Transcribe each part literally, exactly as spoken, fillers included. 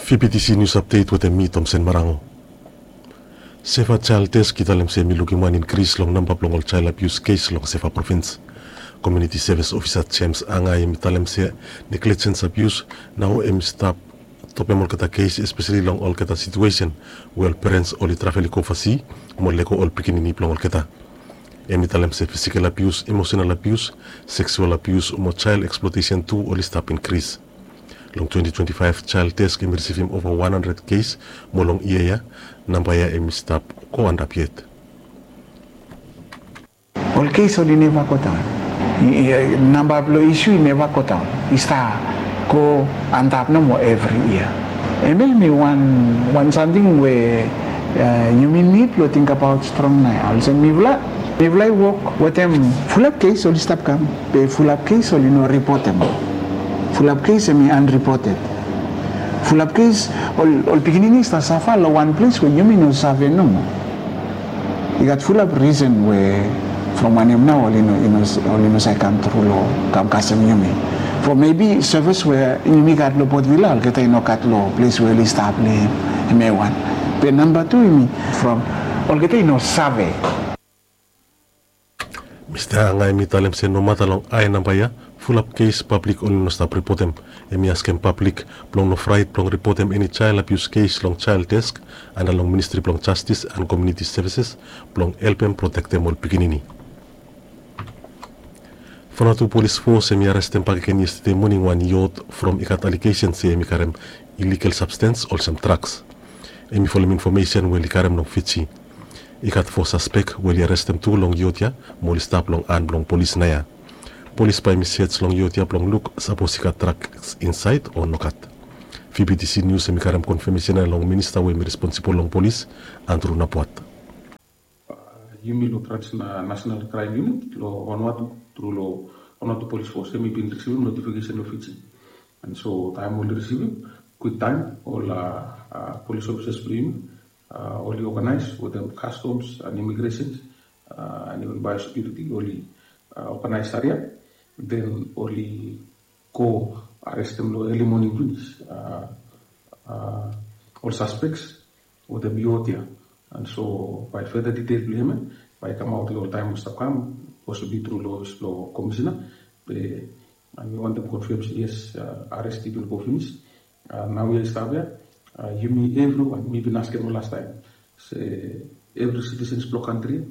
Fibitisi nius apdet wetem mi, Tomsen Marango. Seva Jael Desk i talem se hem i lukim wan inkris long namba blong ol jael abius kes long Seva provins. Komiuniti sevis ofisa Jems Anga hem i talem se neglejens abius nao hem i stap topem olgeta kes, espeseli long olgeta situesen we ol perens oli travel i go ovasi mo lego ol pikinini blong olgeta. Hem i talem se fisikel abius, emosenal abius, seksual abius mo jael eksplotesen tu oli stap inkris. Long twenti twenti faef, Jael Desk hem i risivim ova wan handred kes, mo long yia ya namba ya hem i stap go antap yet. Ol kes oli neva godaon. Namba blong isu i neva godaon, i stap go antap nomo evri yia. Hem ya hem i wan, wan samting we yumi nid blong tingbaot strong nao ya. Olsem mifala, mifala i wok wetem fulap kes oli stap kam, be fulap kes oli no ripotem. Fulap kes hem i anripoted. Fulap kes ol, ol pikinini i stap safa long wan ples we yumi no save nomo. I gat fulap risen we from wanem nao oli no, oli no save kam tru long kam kasem yumi. From mebi sevis we yumi gat long Port Vila, olgeta i no gat long ples we oli stap long hem ya wan. Be namba tu hem i from olgeta i no save. Mista Anga hem i talem se nomata long ae namba ya, fulap kes pablik oli no stap ripotem. Hem i askem pablik blong no fraet blong ripotem eni jael abius kes long Jael Desk anda long Ministri blong Jastis and Komiuniti Sevises blong helpem protektem ol pikinini. Vanuatu Polis Fos hem i arestem bakegen yestede moning wan yot from i gat alegesen se hem i karem iligal sabstens olsem draks. Hem i folem infomesen we oli karem long Fiji. I gat fo saspek we oli arestem tu long yot ya mo oli stap long han blong polis naoia. Polis bae hem i sej long yot ya blong luk sapos i gat draks insaed o nogat. Fibitisi nius hem i karem konfamesen ya long minista we hem i responsibol long polis, Andrew Napuat. Yumi long transnational kraem yunit long Vanuatu tru long Vanuatu Polis Fos hem i bin risivim notifikesen long Fiji. And so taem oli risivim, kwiktaem ol polis ofisas blong yumi oli oganaes wetem kastoms and imigresen and iven baeosekiuriti, oli oganaes saria, den oli go arestem long eli moning finis ol saspeks wetem yot ya. And so bae feda ditel blong hem ya bae i kamaot long ol taem we stap kam, posibli tru long ofis blong komisena. Be mi wantem konfam se yes, ares i bin go finis. Naoia i stap ya, yumi evriwan, mi bin askem ol lastaem se evri sitisens blong kantri ya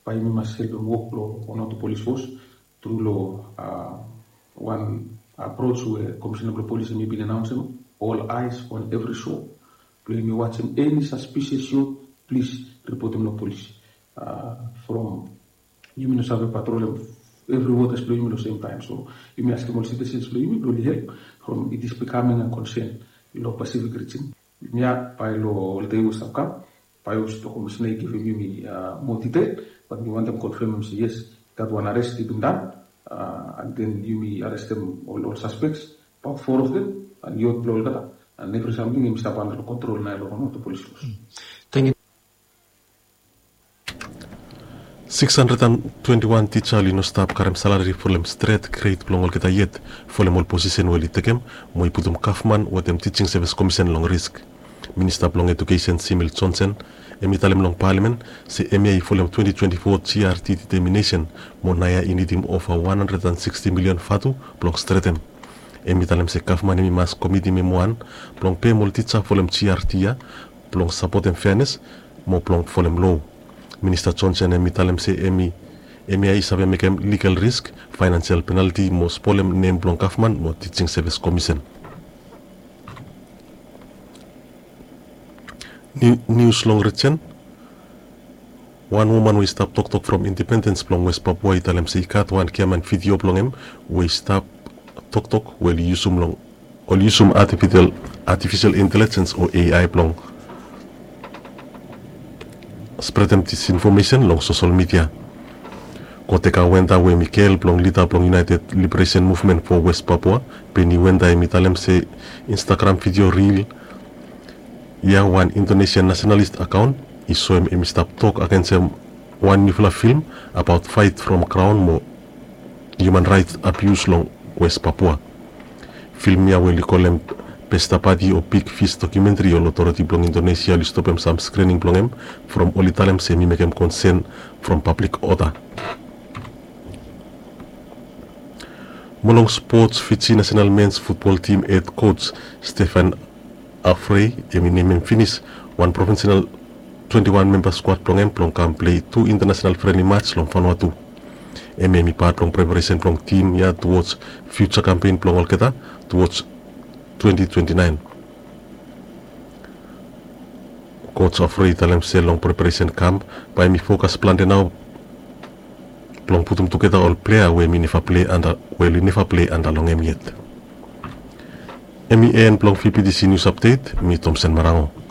bae yumi mas helpem wok blong Vanuatu Polis Fos tru long wan apros we komisena blong polis hem i bin anaonsem, all eyes on every shore. Blong yumi wajem eni saspisias yot, plis ripotem long polis. From yumi no save patrolem evri wotas blong yumi long sem taem. So yumi askem ol sitisens blong yumi blong oli help from it is becoming a concern long Pacific region. Yumi ya bae long ol dei we stap kam, bae i hop se komisena i givim yumi moa ditel, bat mi wantem konfamem se yes, i gat wan ares i bin dan, and then yumi arestem ol, ol saspeks, about four of them, and yot blong olgeta, and evri samting hem i stap anda long kontrol naoia long Vanuatu Polis Fos. Siks handred and twenti wan tija oli no stap karem salari folem stret gred blong olgeta yet, folem ol posisen we oli tekem mo i putum gavman wetem Tijing Sevis Komisen long risk. Minista blong Ejukesen Simil Johnson hem i talem long palamen se hemia i folem twenti twenti fo GRT deteminesen mo naoia i nidim ova wan handred and siksti milion vatu blong stretem. Hem i talem se gavman hem i mas komitim hem wan blong pem ol tija folem GRT ya blong sapotem feanes mo blong folem loa. Minista Johnson hem i talem se hemia i save mekem ligal risk, faenansial penalti mo spolem nem blong gavman mo Tijing Sevis Komisen. Nius long rijen. Wan woman we i stap toktok from Independens blong West Papua i talem se i gat wan giaman vidio blong hem we i stap toktok we oli yusum long oli yusum artifisial intelijens o A I blong spretem disinfomesen long sosel midia. Koteka Wenta we hem i gel blong lida blong United Liberation Movement for West Papua, Beni Wenta hem i talem se Instagram vidio ril ya wan Indonesian nasenalis akaon i soem hem i stap tok agensem wan niufala film abaot faet from graon mo hiuman raets abius long West Papua. Film ya we oli kolem Pesta pati o big fish dokumentri ol otoriti blong Indonesia oli stopem sam skrining blong hem from oli talem se hem i mekem konsen from pablik oda. Mo long spots, Fiji nasenal mens futbol tim hed koj Stefan Afrei hem i nemem finis wan provinsenal twenti wan memba skuad blong hem blong kam plei tu intanasenal frenli mats long Vanuatu. Hem hem i pat blong preparesen blong tim ya tuwoj fiuja kampen blong olgeta tuwoj twenti twenti naen. Koj Afrei i talem se long preparesen kamp bae hem i fokas plante nao blong putum tugeta ol plea we hem i neva plei anda we oli neva plei anda long hem yet. Hem i en blong VBTC nius apdet. Mi Tomsen Marango.